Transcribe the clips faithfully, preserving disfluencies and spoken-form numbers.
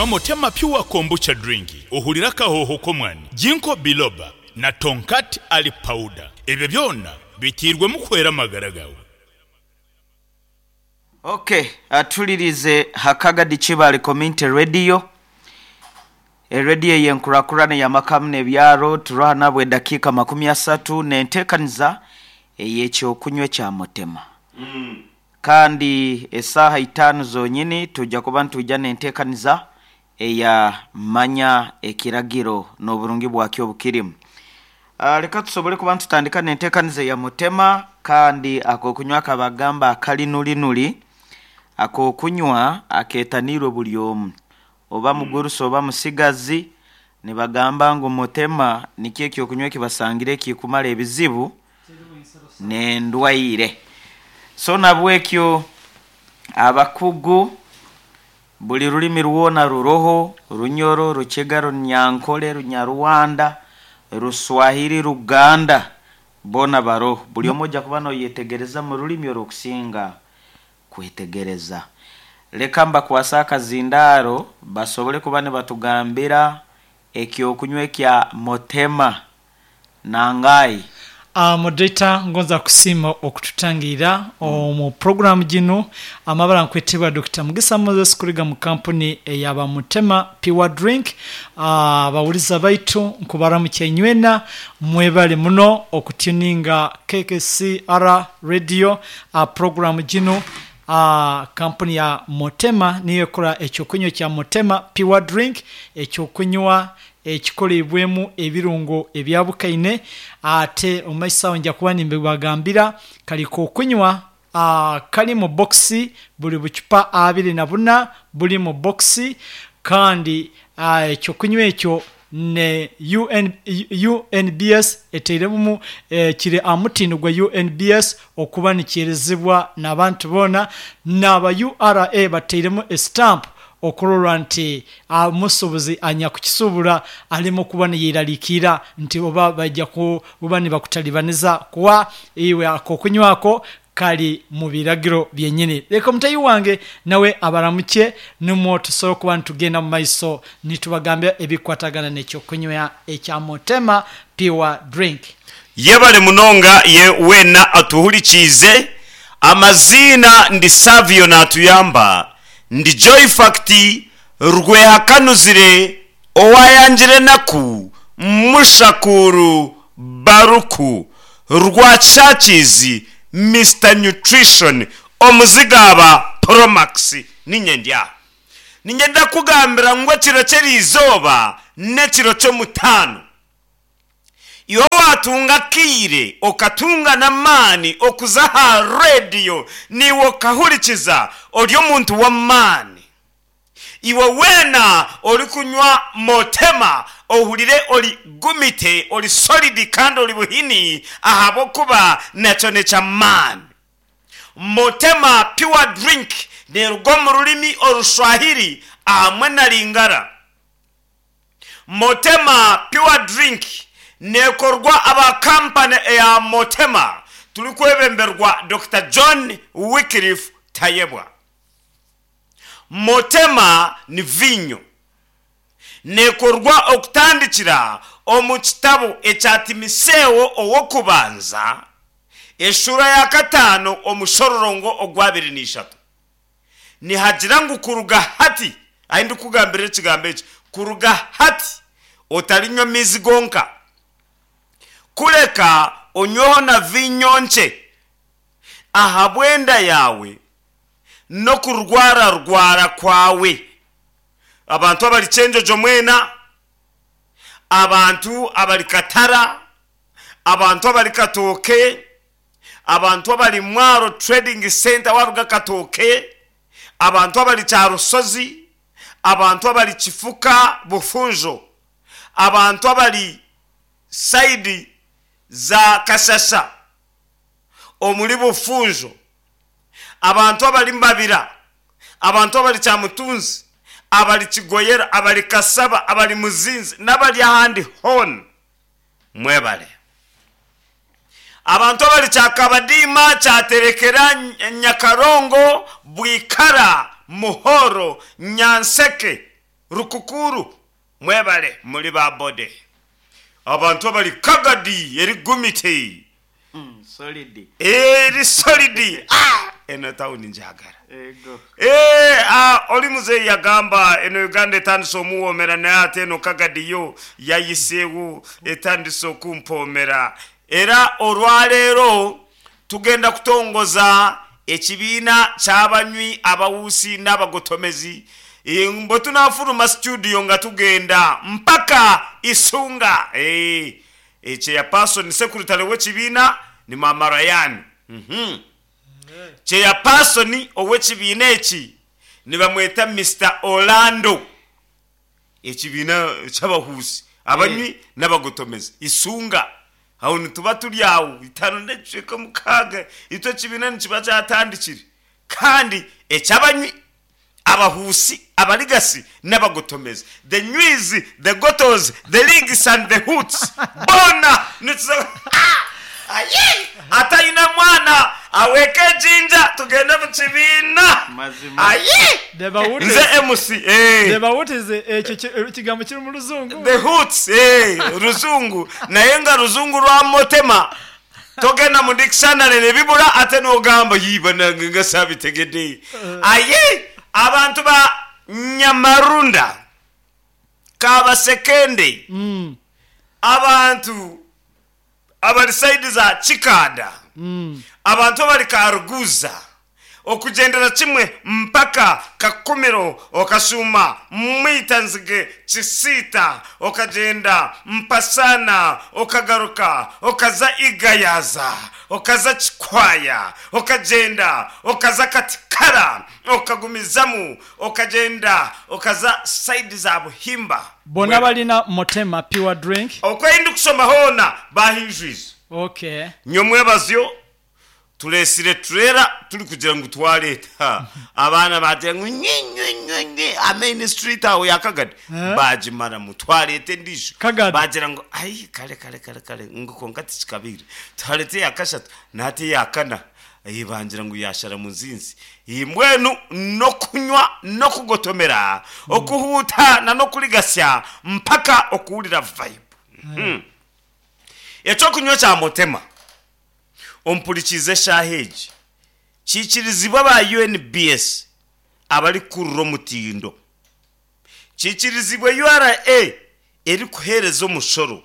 Motema Pure Kombucha Drink, ohurire akahooho k'omwani, Ginkgo Biloba na Tongkat Ali Powder. Ebyo byona biteirwemu kuhwera amagara gaawe. Ok, atulirize Hakagadi Kibaale Community Radio, erediyo ey'enkurakurana ey'amaka n'ebyaro. Turaha nabwo edakiika makumi asatu n'enteekaniza ey'ekyokunywa ekya Mutema. Kandi esaaha itaano zonyini tujja kuba nitwija n'enteekaniza eya Manya Ekiragiro n'oburungi bwakyo obukirimu. Ah, leka tusobole kuba nitutandika n'enteekaniza eya Mutema, kandi ak'okunywa akabagamba akalinulinuli, ak'okunywa akeetaniirwe buli omu, oba mugurusi oba musigazi. Nibagamba ngu Mutema nikyo ekyokunywa ekibasangire ekikumara ebizibu n'endwaire. So nabwekyo abakugu buli rulimi rwona ruroho, Runyoro, Rukiga, Runyankole, Runyarwanda, Ruswahili, Ruganda, boona baroho. Buli omwe ojja kuba noyetegereza mu rulimi orwokusinga kwetegereza. Leka mbakwase akazindaaro basobole kuba nibatugambira ekyokunywa ekya Mutema nangayi. Uh, moderator, ngonza kusiima okututangira omu program gino. Amabara nkwetebwa Doctor Mugisa Moses kuriga mu kampuni eyaba Mutema Pure Drink. Abawuliza uh, baitu nkubaramukya inywena, mwebale muno okutuninga K K C R Radio. uh, program gino, uh, kampuni ya Mutema niyo ekola ekyokunywa kya Mutema Pure Drink, ekyokunywa ekikolebwemu ebirungo ebyabukaine. Ate omumaiso awo nja kuba nimbibagambira. Kali kokunywa uh, kali mu bokisi, buli bucupa abiri na buna buli mu bokisi, kandi uh, ekyokunywa ekyo ne U N, U N B S eteiremu, eh, kiri amutindo gwa U N B S okuba nikyerizibwa n'abantu boona, n'aba U R A bateiremu estamp okurora nti omusuubuzi anyakukisuubura alimu kuba niyeraliikirira nti oba bajja kuba nibakutalibaniza kuwa iwe akokunywako kali mu biragiro byenyini. Leka omutayi wange nawe abaramukye, nimwo tusobola okuba nitugenda mu maiso nitubagambira ebikwatagana n'ekyokunywa ekya Mutema Pure Drink. Yebale munonga ye weena atuhurikiize. Amaziina ndi Savio naatuyamba, ndi Joy Fact Rwehakanuzire owayangire enaku Mushakuru Baruku Rwakyakiizi Mister Nutrition Omuzigaaba Promax. Ninye ndi aha niinyenda kugambira ngu ekiro ky'eriizooba n'ekiro ky'omutaano. Iwe waatunga akaire okatunga n'amaani okuza aha rediyo naiwe okahurikiza ori omuntu w'amaani. Iwe weena orikunywa Motema ohurire ori gumite, ori solid kandi ori buhini ahabw'okuba nakyo n'eky'amaani. Motema Pure Drink neeruga omu rurimi Orushwahiri ahamwe na Lingala. Motema Pure Drink neekorwa aba kampani eya Motema turikwebemberwa Dokita John Wycliffe Tayebwa. Motema ni viinyo. Neekorwa okutandikira omu kitabo ekya Timotheo ow'okubanza eshuura ya kataano omushororongo ogwabiri n'ishatu. Nihagira ngu kuruga hati, ahi ndikugambira ekigambo eki, kuruga hati otarinywa amaizi gonka, kureka onyweho na viinyo nkye ahabw'enda yaawe n'okurwararwara kwawe. Abantu abari Kyenjojo mwena, abantu abari Katara, abantu abari Katooke, abantu abari Mwaro Trading Center waruga Katooke, abantu abari Kyarusozi, abantu abari Kifuka Bufunjo, abantu abari sayidi za Kashasha omuri Bufunjo, abantu abari Mbabira, abantu abari Kyamutunzi, abari Kigoyera, abari Kasaba, abari Muzinzi n'abari ahandi hoona, mwebale. Abantu abari Kyakabadiima, Kyaterekera, Nyakarongo, Bwikara, Muhoro, Nyanseke, Rukukuru mwebale muri ba bode. Abantu abari Kagadi eri gumite, Mm, solid. Eri solid. Ah, eno tawuni njagala. Ego. Eh, ah, oli muzeeyi yagamba eno Uganda etandise omuwoomera, naye ate eno Kagadi yo yayiseewo etandise okumpoomera. Era olwaleero tugenda kutongoza ekibiina ky'abanywi, abawuusi n'abagotomezi. Eh, bwe tunaafuluma studio nga tugenda mpaka Isunga. Eh, eh, chairperson secretary w'ekibiina ni Mama Ryan. Mhm. Chairperson ow'ekibiina eki nibamweta Mister Orlando. Ekibiina ky'abahuusi, abanywi n'abagotomezi Isunga, aho nituba turi awo itaano n'ekicweka mukaaga, itwe ekibiina nikiba kyatandikire, kandi ekyabanywi, abahuusi, abaligasi n'abagotomezi, the nywiz, the gotos, the ligs and the hoots, bona nituza. Aye! Atayina mwana aweeke ejinja tugende mu kibiina. Mazima. Aye! The bawuti- Nze M C, eh. The bawutize ekyo ki- ekigambo kiri mu Luzungu. The hoots, eh, Luzungu, naye nga Luzungu lwa Motema. Togenda mu dictionary ne bibula, ate n'ogamba yiba nange nga saabitegedde. Aye, abantu ba Nyamarunda, Kabasekende, Mm, abantu abali side za Kikanda, mm. abantu abali Karuguza, okugendera kimwe mpaka Kakumiro, okasuma Mwitanzige, Kisiita, okagenda Mpasana, okagaruka okaza Igayaza, okaza Kikwaya, okagenda okaza Katikara, okagumizamu okagenda okaza side za Buhimba. Bonna balina Motema Pure Drink. Okwenda kusoma hoona bahinjwize. Okay. Nyomwebazyo tulesire turera turi kugira ngu twaleeta abaana bagira ngu nye nye nye nye amain street aho ya Kagadi Eh? bagimaramu, twaleeta endiijo. Kagadi. Bagira ngu ai kale kale kale kale, ngu konka tikikabire, twaleeta eya kashatu nate eya kana. Ai, bangira ngu yashara muzinzi. Iyi mbwenu nokunywa nokugotomera, okuhuuta na nokurigasya mpaka okuwulira vibe. Mhm. Ekyokunywa kya Motema, ompurikize eshaaha egi, kiikirizibwa ba U N B S abarikurura omutindo, kiikirizibwa U R A erikuheereza omushoro.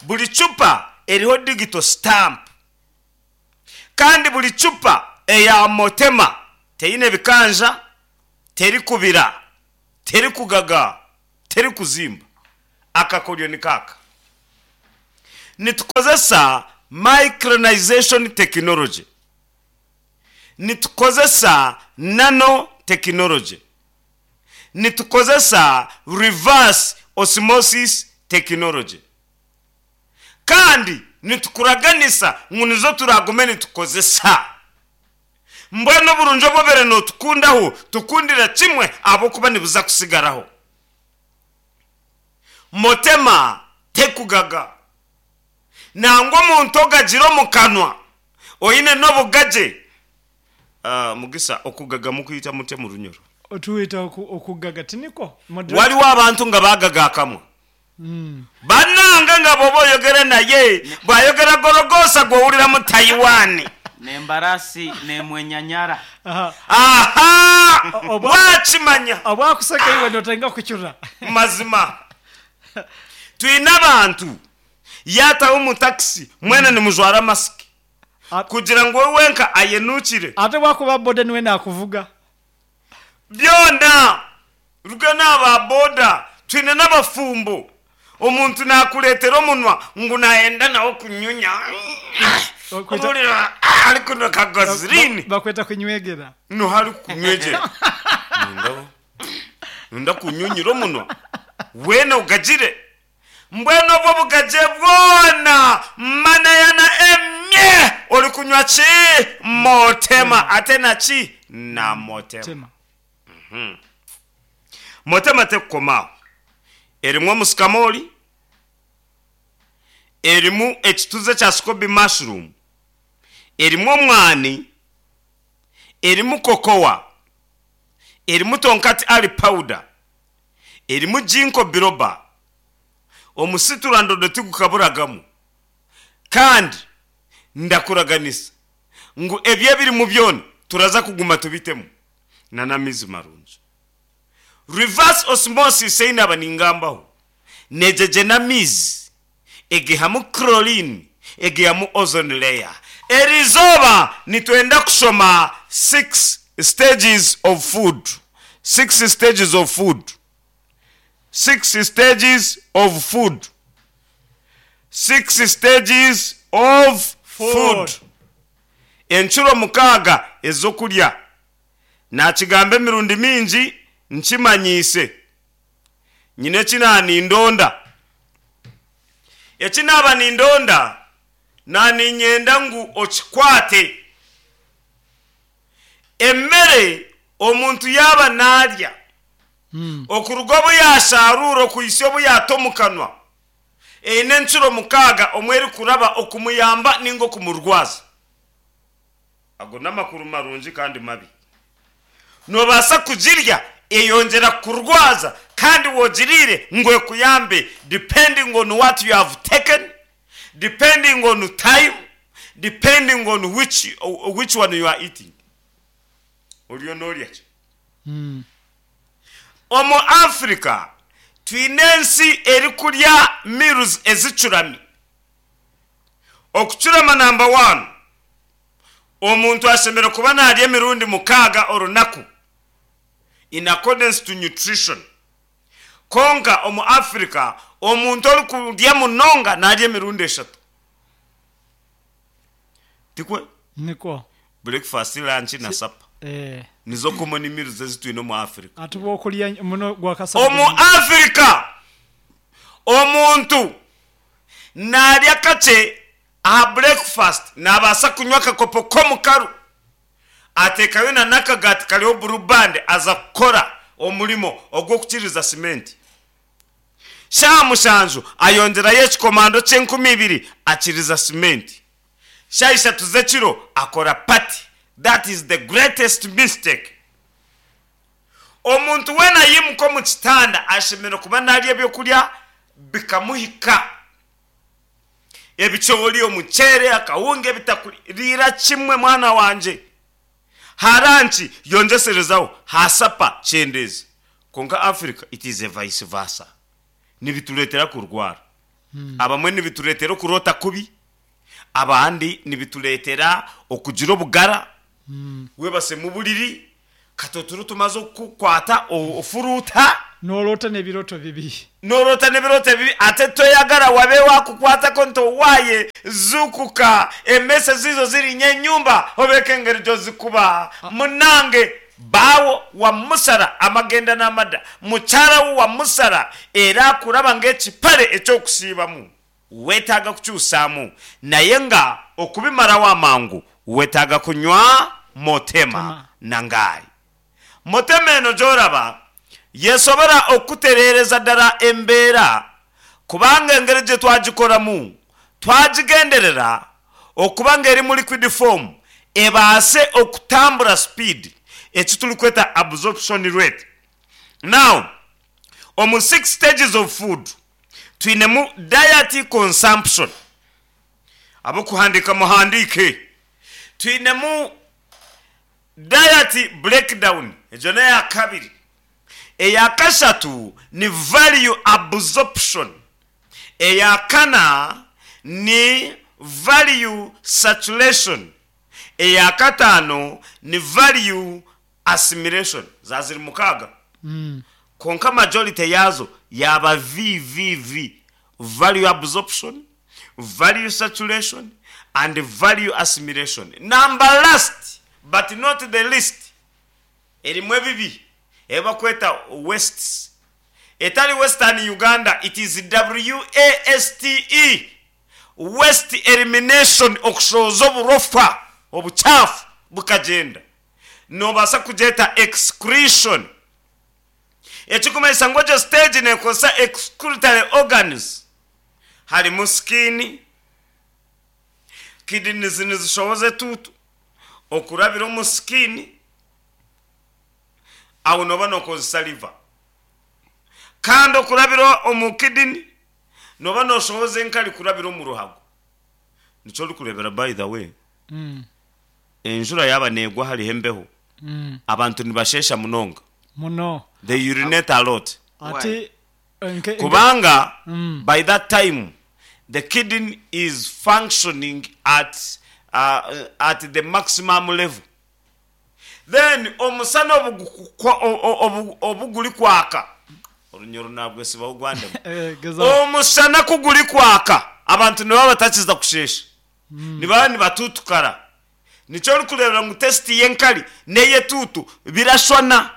Buri cupa eriho digital stamp, kandi buri cupa eya Motema teine bikanja, terikubira, terikugaga, terikuzimba. Akakoryo ni kaka: nitukozesa micronization technology, nitukozesa nano technology, nitukozesa reverse osmosis technology, kandi nitukuraganisa ngu nizo turagume nitukozesa. Mbwenu oburungi obwobere notukundaho, tukundira kimwe abokuba nibuza kusigaraho. Motema tekugaga, nangwa omuntu ogagira omu kanwa oine n'obugaje. Ah, Mugisa, okugaga mukuyita mutya mu Runyoro? Otuyita oku- okugaga tiniko Moderator. Waliwo abantu nga bagaga akamwa. Mm. Bannanga nga bw'oba oyogera naye, bw'ayogera gorogosa gw'owulira mu Taiwan. Nembarasi nemwenyanyara. Aha. Aha. Oba- wakimanya. Obwakuseka iwe notenga kucura. Mazima twine abantu yataho mu takisi, mwena nimujwara masiki A- kugira ngu we wenka ayenukire. Ate bwakuba boda niwe nakuvuga. Byona ruga n'aba boda, twine n'abafumbo, omuntu nakuleetera omunwa ngu nayenda nawe kunyunya. Okwita- Owulira ari kunywa kagazirini. Bakweta kunywegera. No hari kunywegera, nunda nunda kunyunyira omunwa wena ugagire. Mbwenu obwo bugaje bwona manayana emye ori kunywa ki? Motema. Ate naki na Motema? Tema. Motema tekukomaaho, erimu omusikamoli, erimu ekituze kya scoby mushroom, erimu omwani, erimu cocoa, erimu tongkat ali powder, Erimu ginkgo biloba, omusiturandodo tigukaburagamu, kandi ndakuraganisa ngu ebyo ebirimu byona turaza kuguma tubitemu n'amaizi marungi. Reverse osmosis einaba ningambaho negyegye n'amaizi, egihamu chlorine, egihamu ozone layer. Eriizooba nitwenda kushoma six stages of food, six stages of food, six stages of food, six stages of food. Food. Enshuro mukaaga ez'okurya, nakigamba emirundi mingi, nkimanyiise nyine eki naanindonda, eki naaba nindonda naninyenda ngu okikwate. Emmere omuntu yaaba naarya, okuruga obu yasharuura okuhitsya obu yaata omu kanwa, eine enshuro mukaaga omwe erikuraba okumuyamba ninga okumurwaza. Ago n'amakuru marungi kandi mabi. Nobaasa kugirya eyongyera kurwaza, kandi wogiriire ngu ekuyambe, depending on what you have taken, depending on time, depending on which, which one you are eating. Oriyo noorya ki? Omu Africa twine ensi erikurya meals ezicurami. Okucurama, number one, omuntu ashemereire kuba naarya emirundi mukaaga orunaku in accordance to nutrition. Konka omu Africa omuntu orikurya munonga naarya emirundi eshatu, tikwe? Niko. Breakfast, lunch na supper. Eh. Nizo common meals ezi twine omu Africa. Ate bwokulya muno gwakasatu. Omu Africa omuntu naarya kakye aha breakfast, nabaasa kunywa akakopo k'omukaru, ateekayo na n'akagaati kariho Blue Band, aza kukora omurimo ogw'okukiriza simenti. Shaaha mushanju ayongyerayo ekikomando ky'enkumi ibiri, akiriza simenti. Shaaha ishatu z'ekiro akora party. That is the greatest mistake. Omuntu weena yimuka omu kitanda ashemereire kuba naarya ebyokurya bikamuhika, ebicoori, omuceere, akawunga, ebitakuri. Riira kimwe, mwana wangye. Ha lunch yongyeserezaho, ha supper kyendeeza. Konka Africa it is a vice versa. Nibitureetera kurwara abamwe, nibitureetera okuroota kubi abandi, nibitureetera okugira obugara webase mu buriri katoturo tumaze okukwata o- ofuruuta. Noloota n'ebiroto bibi. Norota n'ebiroto bibi, ate toyagala wabe wakukwatako ntowaaye zukuka, emmese zizo zirinya enyumba obeeko engeri gyozikuba. Munange, baawo wamusara amagenda n'amadda, mukyala wo wamusara era akuraba ng'ekipale ekyokusiibamu. Weetaaga kukyusaamu, naye nga okubimarawo amangu weetaaga kunywa Motema. Tema. Nangayi Motema eno gyoraba yesobora okutereereza ddala embeera, kubanga engeri gye twagikoramu twagigenderera okuba nga eri mu liquid form, ebaase okutambura speed, eki turikweta absorption rate. Now omu six stages of food twinemu diet consumption. Abokuhandika muhandike. Twinemu diet breakdown, egyo neya kabiri. Eya kashatu ni value absorption, eya kana ni value saturation, eya kataano ni value assimilation. Zaziri mukaaga, konka majority yazo yaba V V V: value absorption, value saturation and value assimilation. Number last but not the least, erimu ebibi ebakweta wastes, etali Western Uganda, it is W A S T E, waste elimination, okushoza oburofa, obukyafu bukagenda. Nobaasa kugyeta excretion, ekikumanyisa ngu egyo stage nekozesa excretory organs, harimu skin, kidneys nizishoboza etuutu okurabira omu skin, aho noba nokozesa liver. Kandi okurabira omu kidney noba noshohoza enkari kurabira omu ruhago. Nikyo orikureebera, by the way, Mm. enjura yaba negwa hariho embeho, Mm. abantu nibashesha munonga. Muno. They urinate a lot. Ati nke- Kubanga Mm. by that time the kidney is functioning at uh, at the maximum level. Then omusana obu- o- obu- obuguri kwaka, orunyoro nabwesibaho gwandemu. Eh, geza. Omusana kuguri kwaka, abantu nibaba batakiza kushesha, nibaba nibatutukara. Nikyo orikureebera ngu taste y'enkari n'eyetuutu birashwana,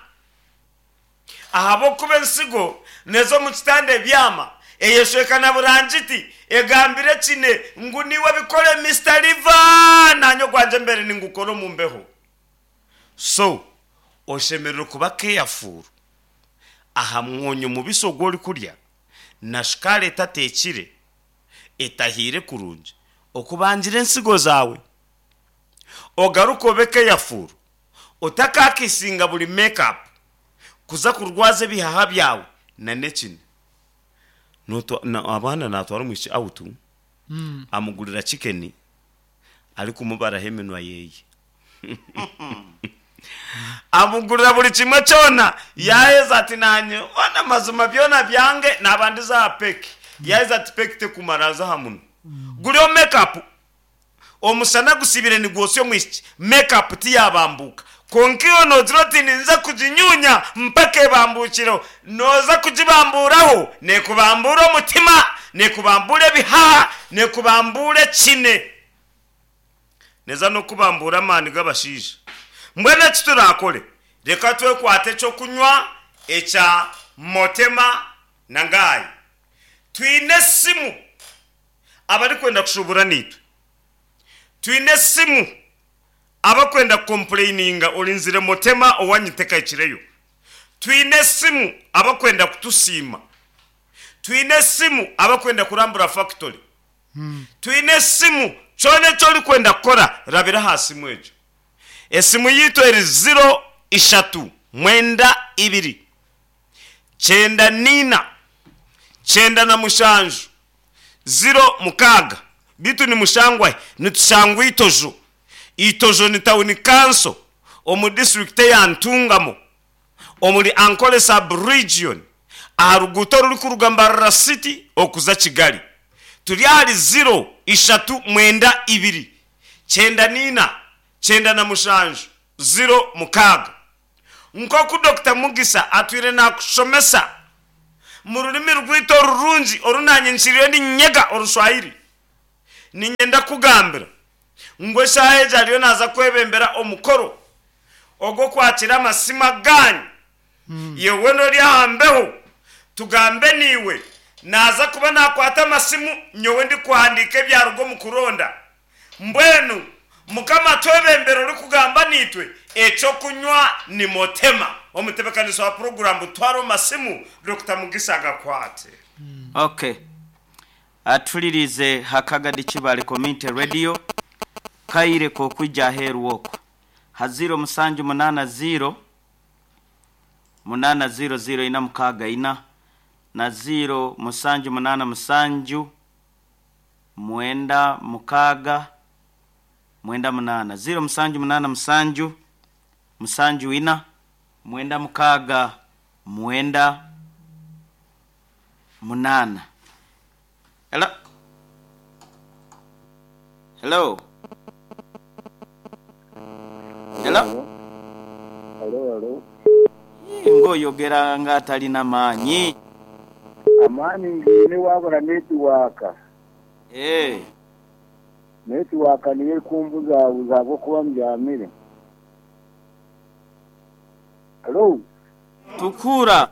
ahabwokuba ensigo nezo mu kitanda ebyama eyeshweka na burangiti egambire kine ngu niwe bikore Mister Liver, nanye gwanje mbere ningukora omu mbeho. So oshemerere kuba careful aha mwonyo mubisi ogwo orikurya na shukaari etateekire etahiire kurungi, okubangira ensigo zaawe. Ogaruka obe careful otakakisinga buri makeup kuza kurwaza ebihaha byawe na nekine. Notwa- na- abaana natwara omwishiki out, Mm. amugurira chicken, ari kumubaraho eminwa yeye, amugurira buri kimwe kyona. Yaheza ati nanye ona mazima byona byange nabandiza aha peki. Yaheza ati peki tekumara, aza aha muno guriho makeup. Omusana gusibire nigwosya omwishiki, makeup tiyabambuka. Konka iwe nogira oti ninza kuginyunya mpaka ebambukireho, noza kugibamburaho, nekubambura omutima, nekubambura ebihaha, nekubambura ekine, neza nokubambura amaani g'abashaija. Mbwenu eki turakore, reka twekwate ekyokunywa ekya Motema na Ngayi. Twine esimu abarikwenda kushubura nitwe, twine esimu abakwenda kucomplaininga orinzire Motema owanyitekakireyo, twine esimu abakwenda kutusiima, twine esimu abakwenda kurambura factory, twine esimu. Kyona ekyo orikwenda kukora, rabira aha simu egyo. Esimu yitu eri ziro ishatu mwenda ibiri kyenda nina kyenda na mushanju ziro mukaaga. Bitu ni mushangwahe? Nitushangwa Itojo. Itojo ni town council omu district ya Ntungamo, omuri Ankole sub region, aha ruguuto rurikuruga Mbarara City okuza Kigali. Turi ahari ziro ishatu mwenda ibiri kyenda nina kyenda na mushanju ziro mukaaga. Nk'oku Dr Mugisa atwire nakushomesa mu rurimi rwitu orurungi orunanye nkiriyo ninyega Orushwahiri, ninyenda kugambira ngu eshaaha egi ariyo naza kwebembera omukoro ogw'okwakira amasima ganyu. Yewe nori aha mbeho, tugambe niwe. Naza kuba nakwata amasimu, nyowe ndi kuhandika ebyaruga omu kuronda. Mbwenu Mukama twebembera ori kugamba nitwe, ekyokunywa ni Motema. Omutebekanisa wa puroguramu, twara omu masimu, Dr Mugisa agakwate. Okay, atulirize Hakagadi Kibale Community Radio, kaire kokwijja aheeru okwo ha ziro musanju munana ziro munana ziro ziro ina mukaaga ina na ziro musanju munana musanju mwenda mukaaga mwenda munana, ziro musanju munana musanju musanju ina mwenda mukaaga mwenda munana. Hello, hello, hello. Alo, alo. Ng'oyogera ng'atalina maanyi. Amaani ngiine, wabura network. Eh. Network niyo ekumbuzabuza ahabwokuba mbyamire. Alo. Tukura.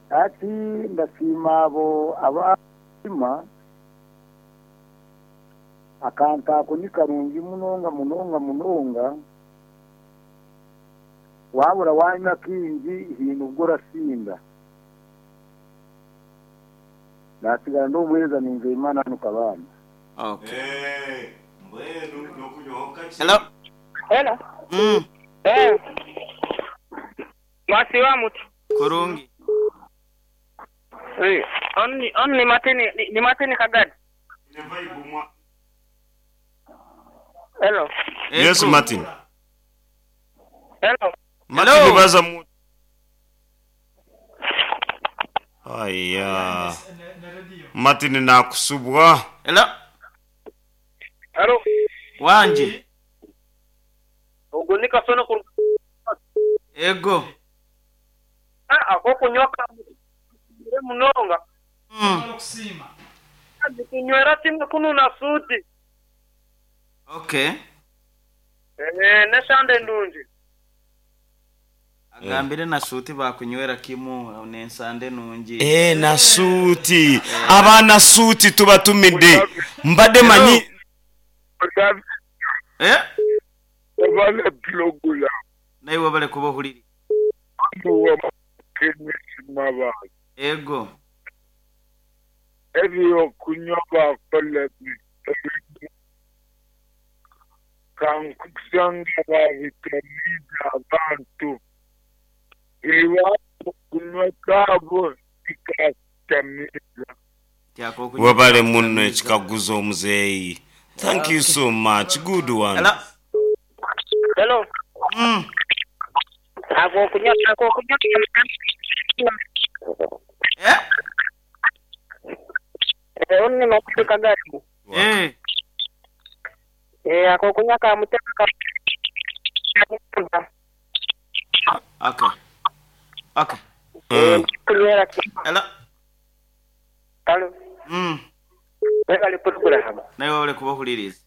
Ati ndasiima abo abasima akantu ako ni karungi munonga munonga munonga. Wabura wanywa kingi hino ubwo urasinda. Nasigara ndi umuhereza Nizeyimana hano Kabanda. Okay. Eh, mbwenu nokunywaho kakye. Hello. Hello. mm. Eh. Mwasi wa mutu. Kurungi. Eh, Onu onu ni Martin ni, ni Martin Kagadi. Hello. Yes, Ego. Martin. Hello. Martin baza mu Aya. Martin nakusubwa. Hello. Hello. Wanje. Ogwo ni kasono ku Ego. ako kunywa ka munonga. Mm. Kunywera kimwe kununa suti. Okay. Eh, neshande ndungi. Agambire na suti bakunywera kimu nensande nungi. Eh na suti. Abana suti tubatumidde. Mbadde manyi Eh? Wabale pulogulaamu Naye wabale kuba ohuliri. Mabale Ego. ebyokunywa bakola ebintu kankusanga babitamiiza abantu iwabo kunywa kaabo tikakutamiiza. Tyakokunywa. Wabale muno ekikaguzo omuzeeyi. Thank you so much. Good one. Hello. Hello. Mm. Ako kunywa ako kunywa Eh? Eh, onu ni Martin Kagadi. Eh. Eh, ako kunywa ka mutema ka Okay. Okay. Mm. kunywera kimwe. Hello. Hello. Mm. Webale pulogulaamu. Naye wabale kuba ohuliriza.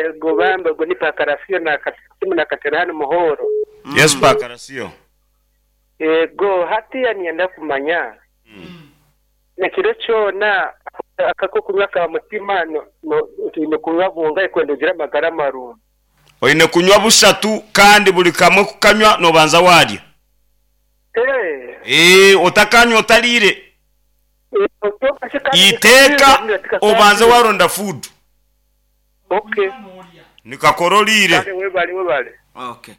Ego bambe ogwo ni pakarasiyo na kasimu na katerani muhoro. Mm. Yes, Pakarasio. Ego hatiya niyenda kumanya. Nekiro kyona akako kunywa ka mutima no no twine kunywa bunga kwenda ogira amagara marungi. Oine kunywa bushatu kandi buli kamwe kukanywa nobanza warya. Eh. Eh, otakanywa otalire. Iteeka obanze waronda food. Okay. Nikakorolire. Kale webale webale. Okay.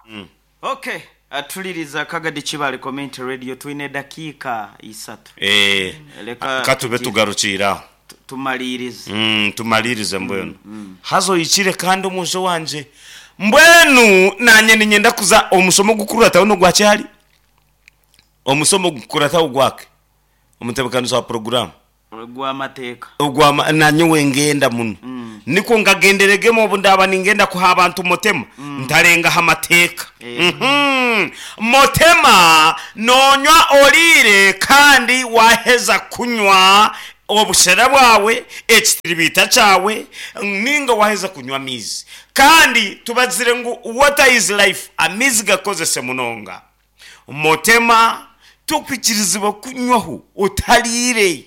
Mm. Okay. Atuliriza Kagadi Kibale Community Radio twine dakiika isatu. Eh, Leka katube tugi- tugarukira. tu- tumalirize. Mm, tumalirize mbwenu. Hazo ikire kandi omusho wanje. Mbwenu nanye ninyenda kuza omusomo gukurataho nogwakyali. Omusomo gukurataho gwake. Omutebekanisa wa program. Gw'amateeka. Ogwama nanye wengenda muno. Mm. Niko ngagenderegemo obu ndaba ningenda kuha abantu motema ntarengaho amateeka. Eh. Mhm. Motema nonywa orire kandi waheza kunywa obushera bwawe ekitiribita cyawe ninga waheza kunywa amizi kandi tubazire ngu water is life amizi gakozese munonga motema tukwikirizibwa kunywaho otalire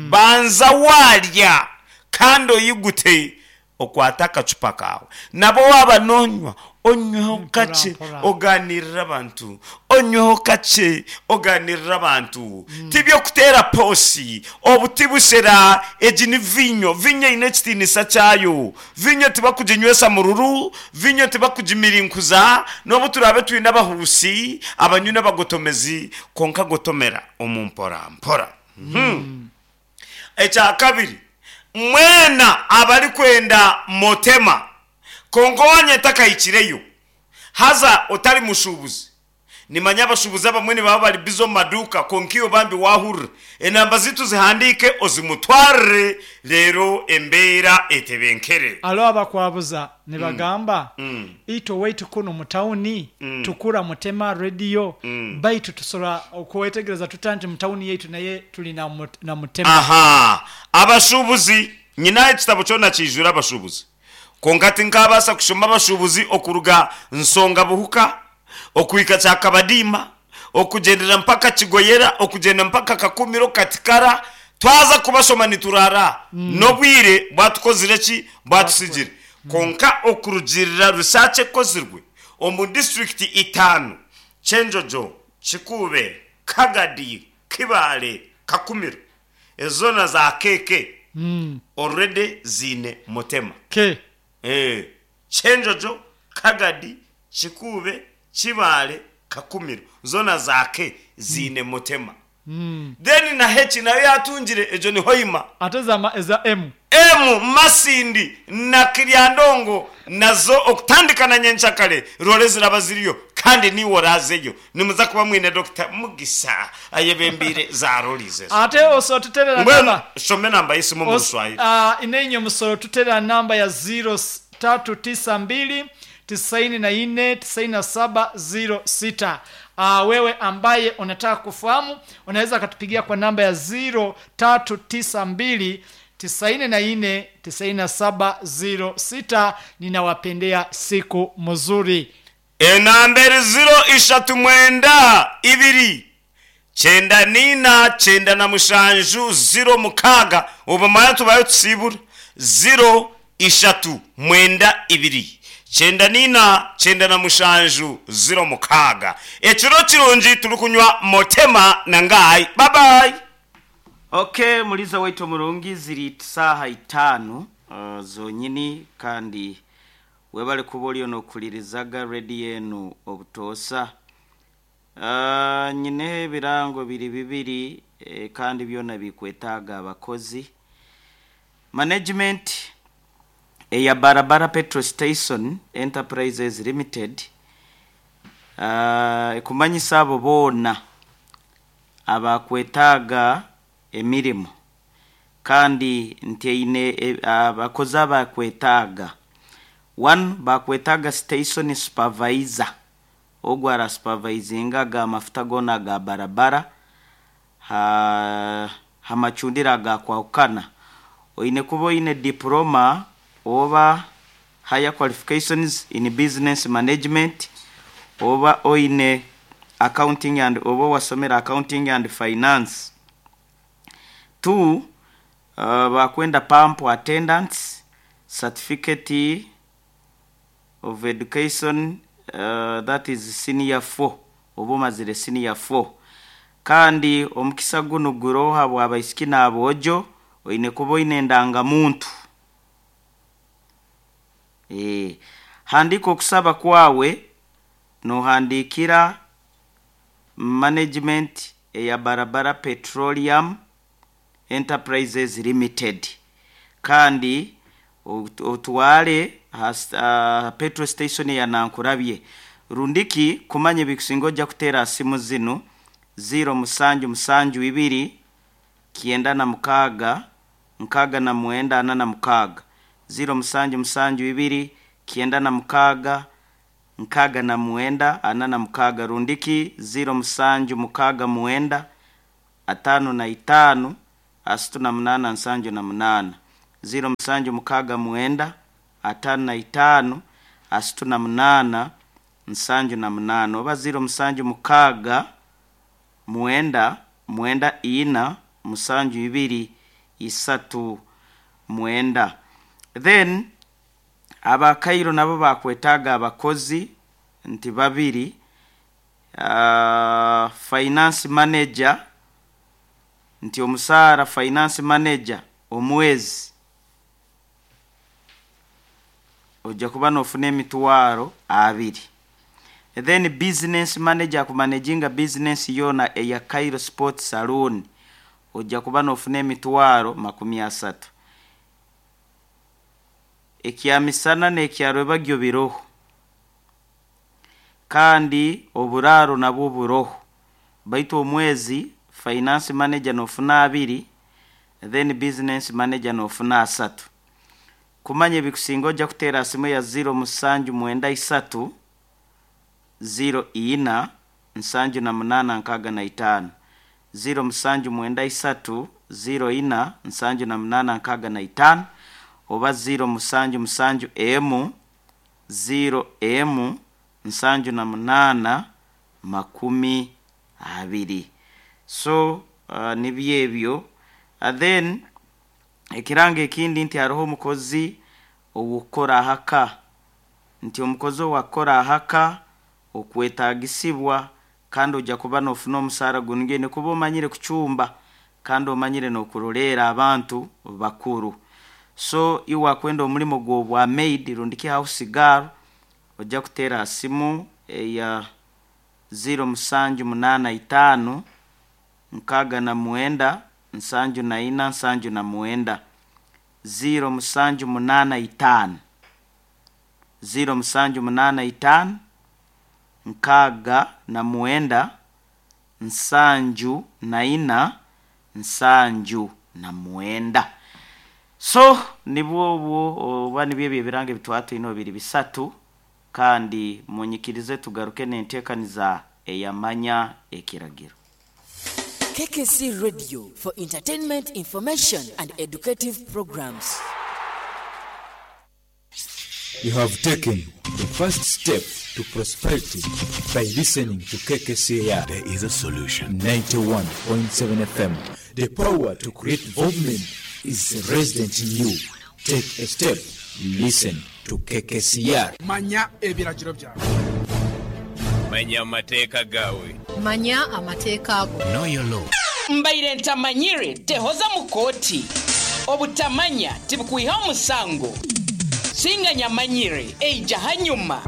banza warya kandi oyigute okwata akacupa kawe nabo waba nonywa onyweho Mpora, kace mpora. oganirira abantu onyweho kace oganirira abantu tibyo kutera posi obuti bushera egi ni vinyo vinyo eine ekitinisa kyayo vinyo tibakuginywesa mururu vinyo tibakugimirinkuza n'obu turabe twine abahusi abanywi n'abagotomezi konka gotomera omu mpora mpora mm. Ekya kabiri mwena abari kwenda motema konka wanye takayikireyo haza otari mushubuzi nimanya abashubuzi abamwe nibaba bari bizo mu maduka konka iyo bambi wahurira enamba zitu zihandike ozimutwarire rero embeera etebenkere. Alo abakwabuza ne bagamba Mm. ito waitu kuno mu tawuni Mm. tukura mutema radio Mm. baitu tusobola okwetegereza tuta nti mu tawuni yaitu naye tuli na, mut- na mutema. Aha abashubuzi nyina ekitabo kyona kijura abashubuzi konka tinkabasa kushoma abashubuzi okuruga nsonga buhuka okuhika kyakabadiima okugendera mpaka kigoyera okugenda mpaka kakumiro katikara twaza kubashoma niturara mm. N'obwire bwatukozire ki bwatusigire mm. Konka okurugirira research ekozirwe omu district itaano Kyenjojo, Kikube, Kagadi, Kibale, Kakumiro ezona za keke Mm. already zine motema. Ke Eh, Kyenjojo, Kagadi, Kikube, Kibale, Kakumiro zona zake zine motema. Mm. Then na H nayo yatungire, egyo ni Hoima. Ate eza eza M? M, Masindi na Kiryandongo, nazo okutandika na nyenkyakare rore ziraba ziriyo, kandi niwe orazeyo nimuza kuba mwine Doctor Mugisa ayebembiire za roriz ezo. Ate osotuterera Mbwenu namba shome namba y'esimu omu Os- Ruswahili. ah, inenye omusoro tutera namba ya ziro tatu tisa mbili tisaini na nne tisaini na saba ziro sita. Uh, wewe ambaye unataka kufahamu unaweza akatupigia kwa namba ya ziro tatu tisa mbili tisaini na nne tisaini na saba ziro sita. Ninawapendea siku mzuri. Enamba eri ziro ishatu mwenda ibiri kyenda nina kyenda na mushanju ziro mukaaga. Obu mara tubayo tusibura ziro ishatu mwenda ibiri kyenda nina kyenda na mushanju ziro mukaaga. Ekiro kirungi, turi kunywa Motema na Ngai. Babayi. Okay, muliza waitu murungi, ziri saha itaano uh, zonyini, kandi webale kuba oliyo nokulirizaga rediyo enu obutoosa. uh, nyineho ebirango biri bibiri eh, kandi byona bikwetaaga abakozi. Management eya Barabara Petrol Station Enterprises Limited uh, ekumanyisa abo boona abakwetaaga emirimu, kandi nti eine e- abakozi abakwetaaga. One, bakwetaaga station supervisor, ogwo arasupervisingaga amafuta goona ga barabara ha hamacundiro agakwahukana. Oine kuba oine diploma oba higher qualifications in business management, oba oine accounting and oba wasomera accounting and finance. Two, uh, bakwenda pump attendants, certificate of education, uh, that is senior four, oba omazire senior four. Kandi omukisa guno guroha bwabaisiki n'aboojo. Oine kuba oine endangamuntu. Eh, handika okusaba kwawe nohandikira management eya Barabara Petroleum Enterprises Limited, kandi ot- otware ha uh, petrol station ya Nankurabye. Rundiki kumanya ebikusinga ojja kuteera simu zinu: ziro musanju musanju ibiri kyenda na mukaaga nkaaga na mwenda ana na mukaaga, ziro musanju musanju ibiri kyenda na mukaaga nkaaga na mwenda ana na mukaaga, rundiki ziro musanju mukaaga mwenda atano na itaano asatu na munaana nsanju na munaana, ziro musanju mukaaga mwenda atano na itaano asatu na munaana nsanju na munaana, oba ziro musanju mukaaga mwenda mwenda ina musanju ibiri isatu mwenda. Then abakairo nabo bakwetaaga abakozi nti babiri, uh, finance manager, nti omusaara finance manager omwezi ojja kuba nofuna emitwaro abiri. Then business manager akumanaginga business yona eya Cairo Sport Saloon, ojja kuba nofuna emitwaro makumi asatu. Ekyamisana n'ekyarwebagyo biroho, kandi oburaaro nabwo buroho, baitu omwezi finance manager nofuna abiri, then business manager nofuna asatu. Kumanya ebikusinga ojja kuteera simu ya ziro musanju mwenda isatu ziro ina nsanju na munaana nkaaga na itaano, ziro musanju mwenda isatu ziro ina nsanju na munaana nkaaga na itaano, oba ziro musanju musanju emu ziro emu nsanju na munaana makumi abiri. So uh, nibyo ebyo. uh, then ekiranga ekindi nti hariho omukozi owukora ahaka, nti omukozi owakora ahaka okwetagisibwa, kandi ojja kuba nofuna omusaara gunugene kuba omanyire kucumba kandi omanyire nokuroleera abantu bakuru. So iwe wakwenda omulimo gw'obwa maid rundiki house girl, ojja kuteera ha simu eya ziro musanju munaana itaano. nkaaga na mwenda nsanju na ina nsanju na mwenda ziro musanju munaana itaano ziro musanju munaana itaano nkaaga na mwenda nsanju na ina nsanju na mwenda. So nibwo obwo oba nibyo ebyo ebirango ebitwatwine biri bisatu, kandi munyikirize tugaruke n'enteekaniza eyamanya ekiragiro. K K C Radio for entertainment, information and educative programs. You have taken the first step to prosperity by listening to K K C R. There is a solution. ninety-one point seven F M. The power to create development is resident in you. Take a step. Listen to K K C R. Manya ebiragiro byawe. Manya amateeka gawe. Manya amateeka ago. Know your law. Mbaire ntamanyire tehoza mu kooti. Obutamanya tibukwiha omusango. Singa nyamanyire eija hanyuma.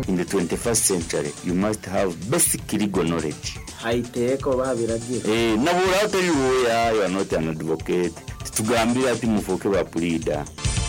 In the twenty-first century, you must have basic legal knowledge. Haiteeka oba biragiro. Eh, nabura utari lawyer, you are not an advocate. Tugambira ati mufoke ba pleader.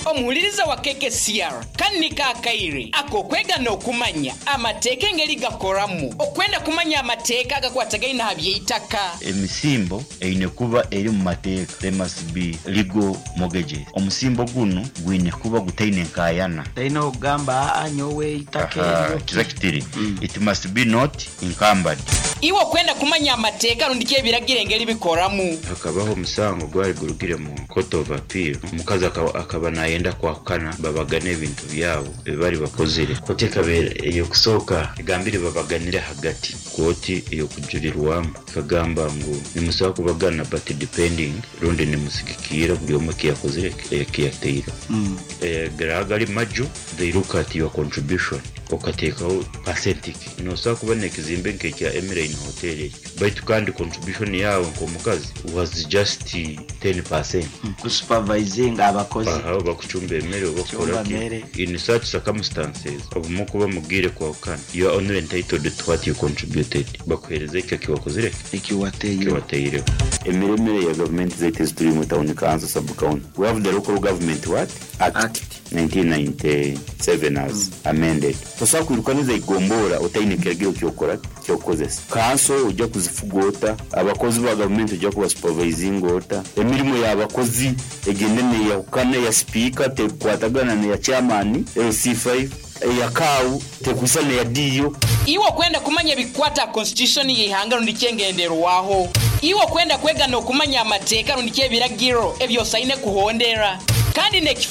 Omuwuliriza wa K K C R kannika akaire akokwega n'okumanya amateeka engeri gakoramu okwenda kumanya amateeka agakwatagaine aha by'eitaka. Emisimbo eine kuba eri mu mateeka, there must be legal mortgages. Omusimbo guno gwine kuba gutaine nkayana. Taine okugamba aa nyowe eitaka eryo. Exactly. It must be not encumbered. Iwe okwenda kumanya amateeka rundi ky'ebiragiro engeri bikoramu. Hakabaho omusango gwari gurugire mu court of appeal, omukazi akaba, akaba nayenda kwahukana babagane ebintu byabo ebibari bakozire. Kooti ekabeera ey'okusooka egambire babaganire hagati. Kooti ey'okujurirwamu ekagamba ngu nimusobola kubagana but depending rundi nimusigikira buri omwe ekiyakozire ekiyateire. Mm. Eh, gari maju, they look at your contribution okateekaho percentage. Nosobola kubona ekizimbe nk'ekya Emirine Hotel ekyo, baitu kandi contribution yawe nk'omukazi was just ten percent. Mm. Kusupervising abakozi. Aha, bakucumba emmere oba Kucumba kukola ki. emmere. In such circumstances, obumu kuba mugire kwahukana, you are only entitled to what you contributed. Bakuhereza ekyo ekiwakozire ekiwateireho. Ekiwateireho. Emiremere ya government zaitu ezituri mu town council, sub county. We have the local government what? Act. Act. nineteen ninety-seven as amended. Tosobola kwirukaniza igombora otaine kiragiro kyokora kyokukozesa. Kanso ojja kuzifuga ota, abakozi ba gavumenti ojja kubasupervisinga ota, emirimu y'abakozi egende neyahukana eya sipiika tekukwatagana neya chairman L C five, eya kaawu tekwisa neya D O. Iwe okwenda kumanya ebikwata constitution y'eihanga rundi kyengenderwaho. Iwe okwenda kwega n'okumanya amateeka rundi ky'ebiragiro ebyosaine kuhondera. Kandi n'ekifu